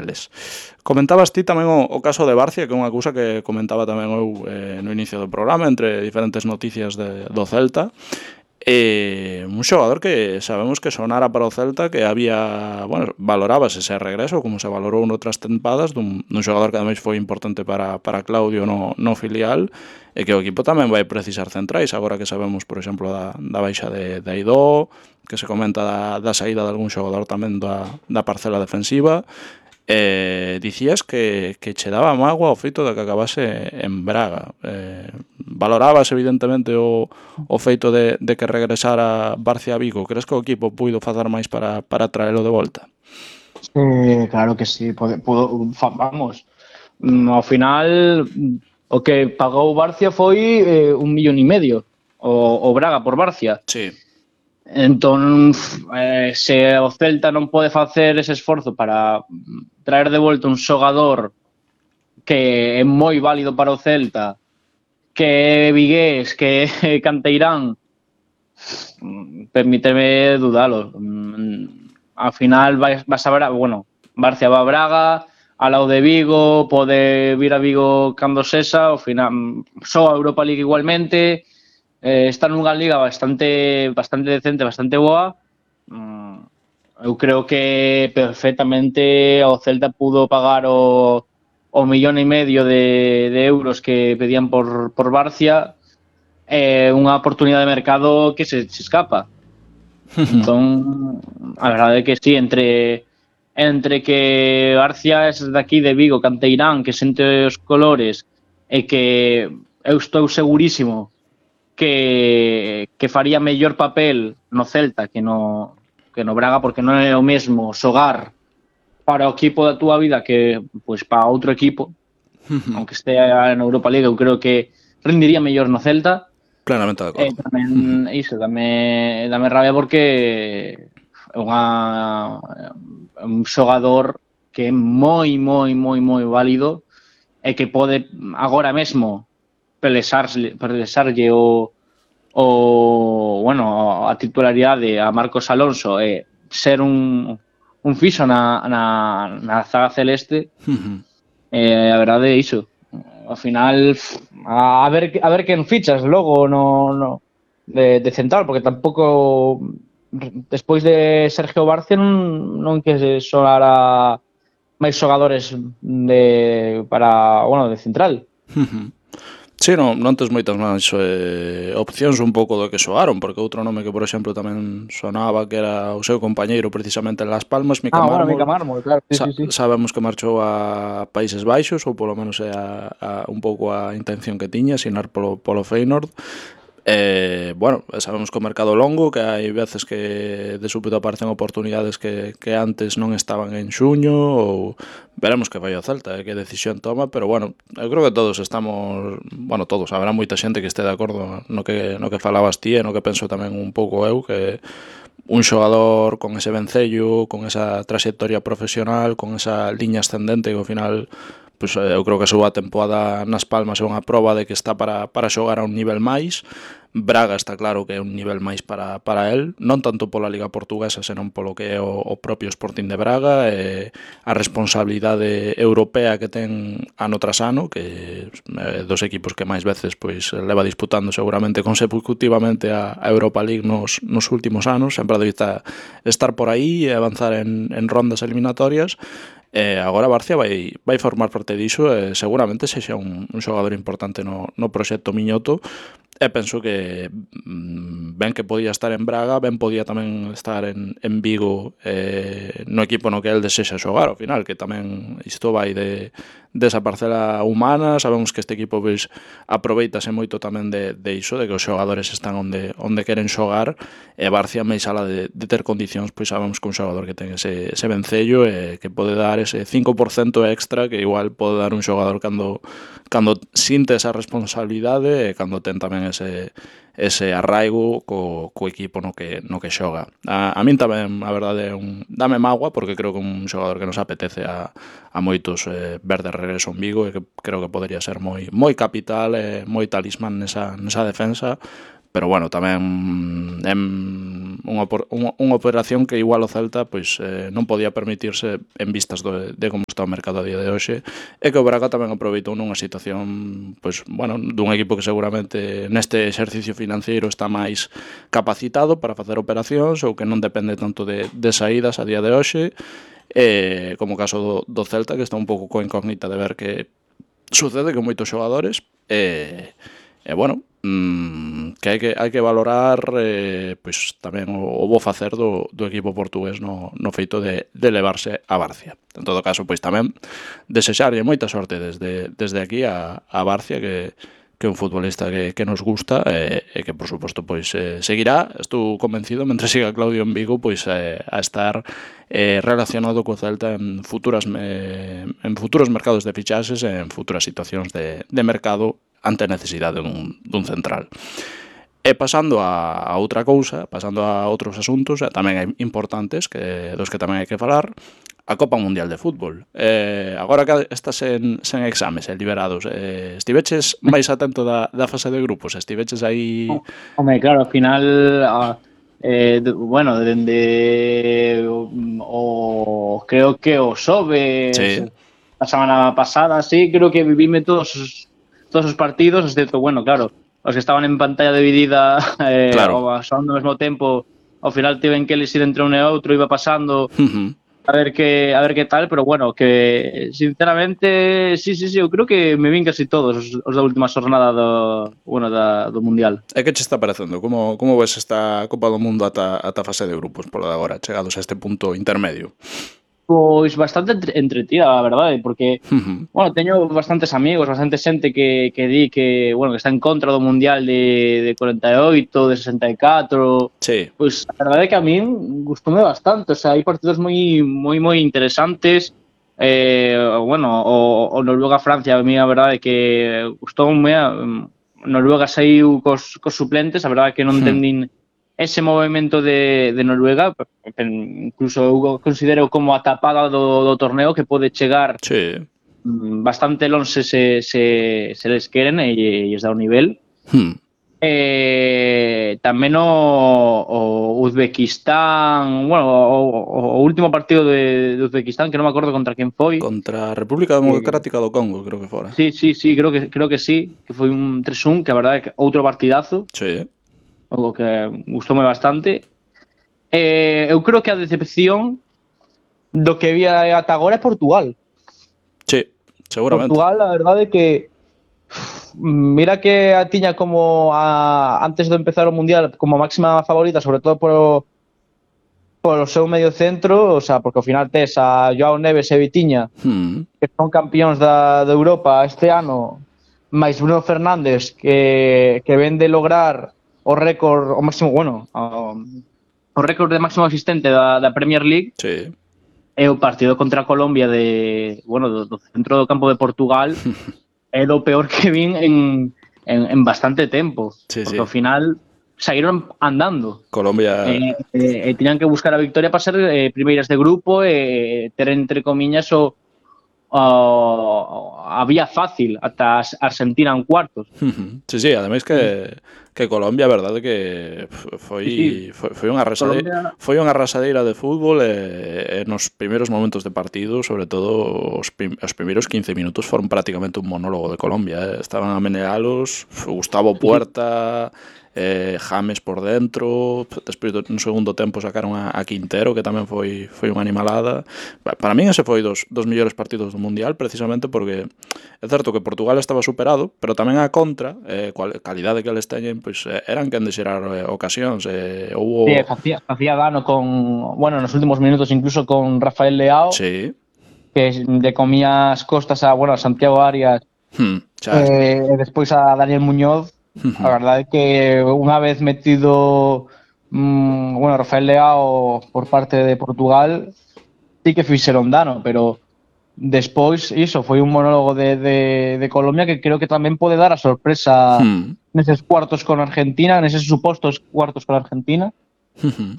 eles. Comentabas ti tamén o caso de Barcia, que é unha cousa que comentaba tamén eu no inicio do programa, entre diferentes noticias do Celta. Un xogador que sabemos que sonara para o Celta, que había, bueno, valorábase ese regreso, como se valorou noutras tempadas, dun xogador que ademais foi importante para Claudio no filial, e que o equipo tamén vai precisar centrais, agora que sabemos, por exemplo, da baixa de Aidó, que se comenta da saída de algún xogador tamén da parcela defensiva. Dicías que che daba mágoa o feito de que acabase en Braga. Valorabas evidentemente o feito de que regresara Barcia a Vigo. Crees que o equipo puido facer máis para traelo de volta? Claro que sí, vamos, ao final o que pagou Barcia foi 1,5 millón o Braga por Barcia. Sí. Entón, se o Celta non pode facer ese esforzo para traer de volta un xogador que é moi válido para o Celta, que é vigués, que é canteirán, permíteme dudalo. Ao final vas a ver, bueno, Barcia va a Braga, ao lado de Vigo, pode vir a Vigo cando sexa, ao final só a Europa League igualmente. Está nunha liga bastante decente, bastante boa. Eu creo que perfectamente o Celta pudo pagar o 1,5 millón de euros que pedían por Barcia, unha oportunidade de mercado que se escapa. Entón, a verdade é que sí, entre que Barcia é de aquí de Vigo, canteirán, que sente os colores, e que eu estou segurísimo que faría mellor papel no Celta que no Braga, porque non é o mesmo xogar para o equipo da túa vida que pois para outro equipo. Aunque estea na Europa League, eu creo que rendiría mellor no Celta. Plenamente de acordo. Tamén iso, dame rabia porque é un xogador que é moi válido e que pode agora mesmo pelesarlle a titularidade a Marcos Alonso e ser un fixo na zaga celeste. A verdade é iso. Ao final, a ver quen fichas logo de central, porque tampouco despois de Sergio Barcia non que sonara máis xogadores de central. Sí, non tes moitas máis opcións un pouco do que soaron, porque outro nome que, por exemplo, tamén sonaba que era o seu compañeiro precisamente en Las Palmas, Mika Mármol, claro. Sí. Sabemos que marchou a Países Baixos, ou polo menos é un pouco a intención que tiña, asinar polo Feyenoord. Bueno, sabemos que o mercado longo, que hai veces que de súpeto aparecen oportunidades que antes non estaban en xuño, ou veremos que vai o Celta, que decisión toma, pero bueno, eu creo que todos estamos, bueno, todos, habrá moita xente que este de acordo no que falabas ti e no que penso tamén un pouco eu, que un xogador con ese vencello, con esa trayectoria profesional, con esa liña ascendente que ao final, pois eu creo que a súa temporada nas Palmas é unha proba de que está para xogar a un nivel máis. Braga está claro que é un nivel máis para el, non tanto pola Liga Portuguesa, senón polo que é o propio Sporting de Braga, a responsabilidade europea que ten ano tras ano, que é dos equipos que máis veces pois leva disputando seguramente consecutivamente a Europa League nos últimos anos, sempre debe estar por aí e avanzar en rondas eliminatorias. Agora Barcia vai formar parte diso e seguramente sexa un xogador importante no proxecto Miñoto. E penso que ben que podía estar en Braga, ben podía tamén estar en Vigo, no equipo no que el desexa xogar ao final, que tamén isto vai desa parcela humana. Sabemos que este equipo pois aproveitase moito tamén de iso, de que os xogadores están onde queren xogar, e Barcia máis ala de ter condicións, pois sabemos que un xogador que ten ese vencello e que pode dar ese 5% extra que igual pode dar un xogador cando sinte esa responsabilidade e cando ten tamén ese arraigo co equipo no que xoga. A min tamén, a verdade, dame mágoa, porque creo que un xogador que nos apetece a moitos ver de regreso en Vigo, e que creo que podería ser moi capital e moi talismán nesa defensa, pero bueno, tamén é unha operación que igual o Celta pois non podía permitirse en vistas de como está o mercado a día de hoxe, e que o Braga tamén aproveitou nunha situación pois, bueno, dun equipo que seguramente neste exercicio financiero está máis capacitado para facer operacións ou que non depende tanto de saídas a día de hoxe, como o caso do Celta, que está un pouco coa incógnita de ver que sucede con moitos xogadores, bueno, que hai que valorar pois tamén o bo facer do equipo portugués no feito de levarse a Barcia. En todo caso, pois tamén desexarlle moita sorte desde aquí a Barcia, que é un futbolista que nos gusta e que, por suposto, pois seguirá, estou convencido, mentre siga Claudio en Vigo, pois a estar relacionado co Celta en futuros mercados de fichaxes e en futuras situacións de mercado ante a necesidade dun central. E pasando a outra cousa, pasando a outros asuntos tamén importantes, dos que tamén hai que falar, a Copa Mundial de Fútbol. Agora que estás sen exames liberados, estiveches máis atento da fase de grupos? Estiveches aí... Home, claro, ao final, bueno, dende creo que o xoves, a semana pasada, sí, creo que vivime todos os partidos, excepto, bueno, claro, os que estaban en pantalla dividida claro, ao mesmo tempo, ao final tiven que elixir entre un e outro, iba pasando... A ver qué tal, pero bueno, que sinceramente, sí, eu creo que me vin casi todos os da última xornada do Mundial. E que che está parecendo? Como ves esta Copa do Mundo ata fase de grupos, polo de agora, chegados a este punto intermedio? Pois bastante entretida, a verdade, porque, bueno, teño bastantes amigos, bastante xente que di que, bueno, que está en contra do Mundial de 48, de 64. Sí. Pois a verdade é que a min gustoume bastante, o sea, hai partidos moi interesantes. Bueno, o Noruega-Francia, a mí a verdade é que gustoume. Noruega saiu cos suplentes, a verdade é que non entendín ese movimento de Noruega, incluso eu considero como a tapada do torneo, que pode chegar bastante lonxe se les queren e lles dá o nivel. Tamén o Uzbekistán, bueno, o último partido de Uzbekistán, que non me acordo contra quen foi. Contra a República Democrática do Congo, creo que fora. Sí, creo que sí, que foi un 3-1, que a verdade é que outro partidazo. Sí. O que gustoume bastante. Eu creo que a decepción do que vi ata agora é Portugal. Sí, seguramente. Portugal, a verdade é que mira que a tiña como antes de empezar o Mundial como máxima favorita, sobre todo polo seu medio centro, o sea, porque ao final tes a Joao Neves e Vitinha, que son campións da Europa este ano, máis Bruno Fernández, que ven de lograr o récord, o máximo, bueno, o récord de máximo asistente da Premier League. Sí. E o partido contra Colombia do centro do campo de Portugal é do peor que vin en bastante tempo. Porque ao final saíron andando. Colombia... Tiñan que buscar a victoria para ser primeiras de grupo e ter, entre comiñas, a vía fácil ata Argentina en cuartos. Sí, ademais que Colombia, a verdade que foi unha arrasadeira de fútbol e nos primeiros momentos de partido, sobre todo os primeiros 15 minutos foron prácticamente un monólogo de Colombia, estaban a menealos, Gustavo Puerta, James por dentro, despois no segundo tempo sacaron a Quintero, que tamén foi unha animalada. Para min ese foi dos mellores partidos do Mundial, precisamente porque é certo que Portugal estaba superado, pero tamén a contra, calidade que eles teñen, pois eran quen de xerar ocasións. Facía dano nos últimos minutos incluso con Rafael Leao, que le comía as costas a Santiago Arias e despois a Daniel Muñoz. A verdade é que unha vez metido Rafael Leao por parte de Portugal, sí que fixeron dano, pero despois iso foi un monólogo de Colombia que creo que tamén pode dar a sorpresa neses cuartos con Argentina, neses supostos cuartos con Argentina.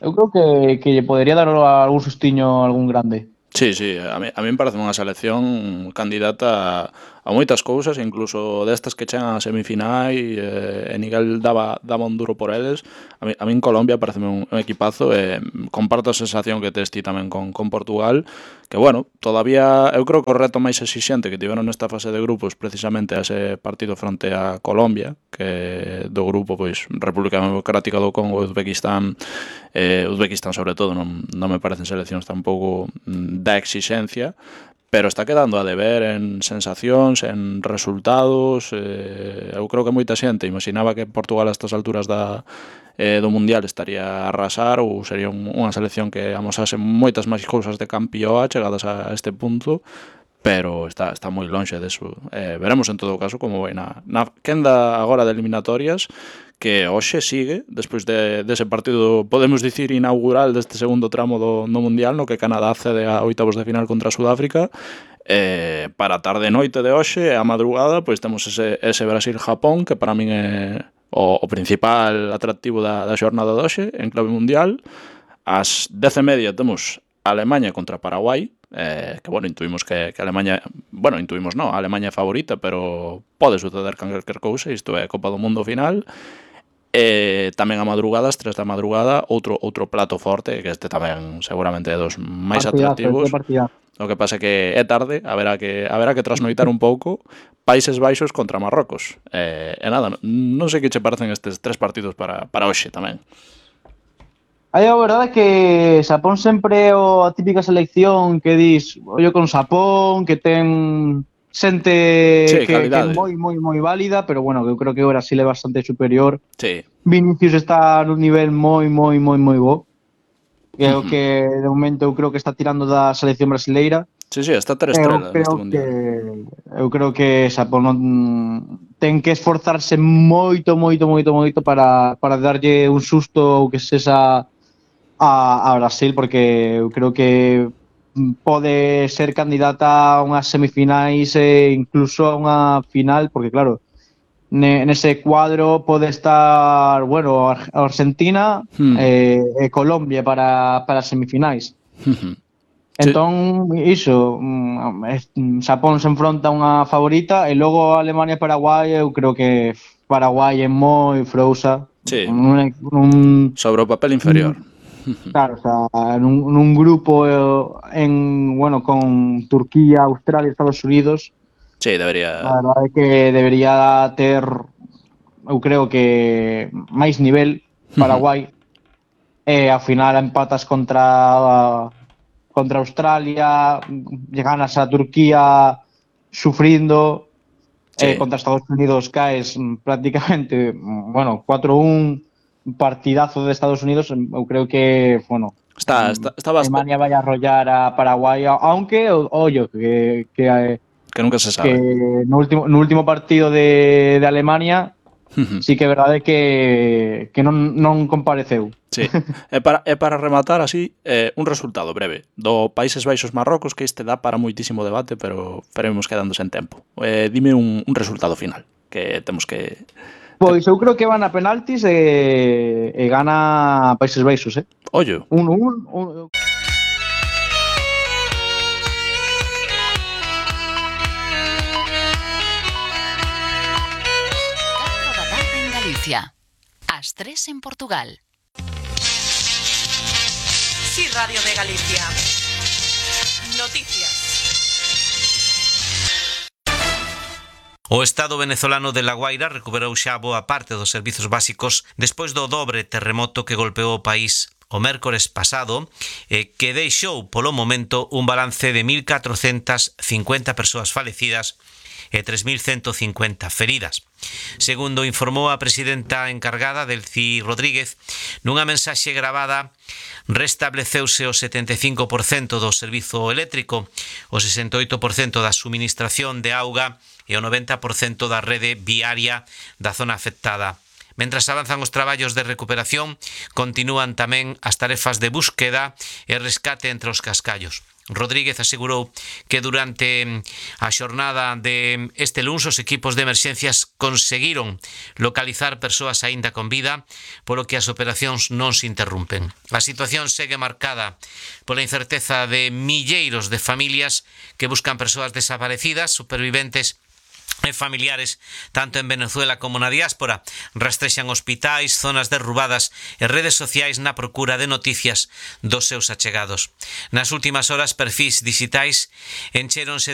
Eu creo que lle podería dar algún sustiño a algún grande. Sí, sí, a mí me parece unha selección candidata a moitas cousas, incluso destas que chegan a semifinais, e Miguel daba un duro por eles. A mí en Colombia pareceme un equipazo, e comparto a sensación que tes ti tamén con Portugal, que bueno, todavía eu creo que o reto máis exixente que tiveron nesta fase de grupos precisamente a ese partido fronte a Colombia, que do grupo pois República Democrática do Congo e Uzbekistán sobre todo non me parecen seleccións tampouco da exixencia, pero está quedando a deber en sensacións, en resultados. Eu creo que moita xente imaginaba que Portugal a estas alturas do Mundial estaría a arrasar ou sería unha selección que amosase moitas máis cousas de campioa chegadas a este punto, pero está moi lonxe deso. Veremos en todo caso como vai na quenda agora de eliminatorias, que hoxe sigue, despois dese partido, podemos dicir, inaugural deste segundo tramo do Mundial, no que Canadá accede a oitavos de final contra Sudáfrica. Para a tarde e noite de hoxe, a madrugada, pois temos ese Brasil-Japón, que para min é o principal atractivo da xornada de hoxe, en clave mundial. Ás 10:30 temos Alemanha contra Paraguai, que, bueno, intuimos que Alemanha... Bueno, intuimos non, a Alemanha é favorita, pero pode suceder calquer cousa, isto é Copa do Mundo final. Tamén a madrugada, ás 3 da madrugada, outro plato forte, que este tamén seguramente é dos máis atractivos. O que pasa é que é tarde, haberá que trasnoitar un pouco. Países Baixos contra Marrocos. E nada, non sei que che parecen estes 3 partidos para hoxe tamén. Aí a verdade é que Xapón sempre é a típica selección que dis, ollo con Xapón, que ten xente Sí, que é moi válida, pero bueno, eu creo que o Brasil é bastante superior. Sí. Vinicius está nun nivel moi bo. Que é o que de momento eu creo que está tirando da selección brasileira. Sí, está 3 estrelas neste mundial. Eu creo que Xapón ten que esforzarse moito para darlle un susto ou que sexa a Brasil, porque eu creo que pode ser candidata a unhas semifinais e incluso a unha final, porque claro, nese cuadro pode estar, bueno, Argentina e Colombia para semifinais. Entón, iso, Xapón se enfronta a unha favorita e logo Alemania e Paraguai, eu creo que Paraguai é moi frousa. Sí, sobre o papel inferior. Claro, o sea, nun grupo con Turquía, Australia e Estados Unidos. Sí, debería. A verdade é que debería ter, eu creo que máis nivel Paraguai. E ao final empatas contra Australia, ganas a Turquía sufrindo, contra Estados Unidos caes prácticamente, 4-1, partidazo de Estados Unidos. Eu creo que, está Alemania vai a arrollar a Paraguai, aunque, ollo, que nunca se sabe. Que no último partido de Alemania sí que é verdade que non compareceu. Sí. E para rematar así, un resultado breve do Países Baixos Marrocos, que este dá para moitísimo debate, pero iremos quedándose en tempo. Dime un resultado final, que temos que... Pois eu creo que van a penaltis e gana Países Baixos, Ollo. 1-1. As 3 en Portugal. Sí, Radio de Galicia. Noticias. O Estado venezolano de La Guaira recuperou xa boa parte dos servizos básicos despois do dobre terremoto que golpeou o país o mércores pasado, que deixou polo momento un balance de 1.450 persoas falecidas e 3.150 feridas. Segundo informou a presidenta encargada, Delcy Rodríguez, nunha mensaxe gravada, restableceuse o 75% do servizo eléctrico, o 68% da suministración de auga e o 90% da rede viaria da zona afectada. Mentras avanzan os traballos de recuperación, continúan tamén as tarefas de búsqueda e rescate entre os cascallos. Rodríguez asegurou que durante a xornada de este luns os equipos de emerxencias conseguiron localizar persoas aínda con vida, polo que as operacións non se interrumpen. A situación segue marcada pola incerteza de milleiros de familias que buscan persoas desaparecidas, superviventes e familiares tanto en Venezuela como na diáspora. Rastrexan hospitais, zonas derrubadas e redes sociais na procura de noticias dos seus achegados. Nas últimas horas, perfis digitais enchéronse de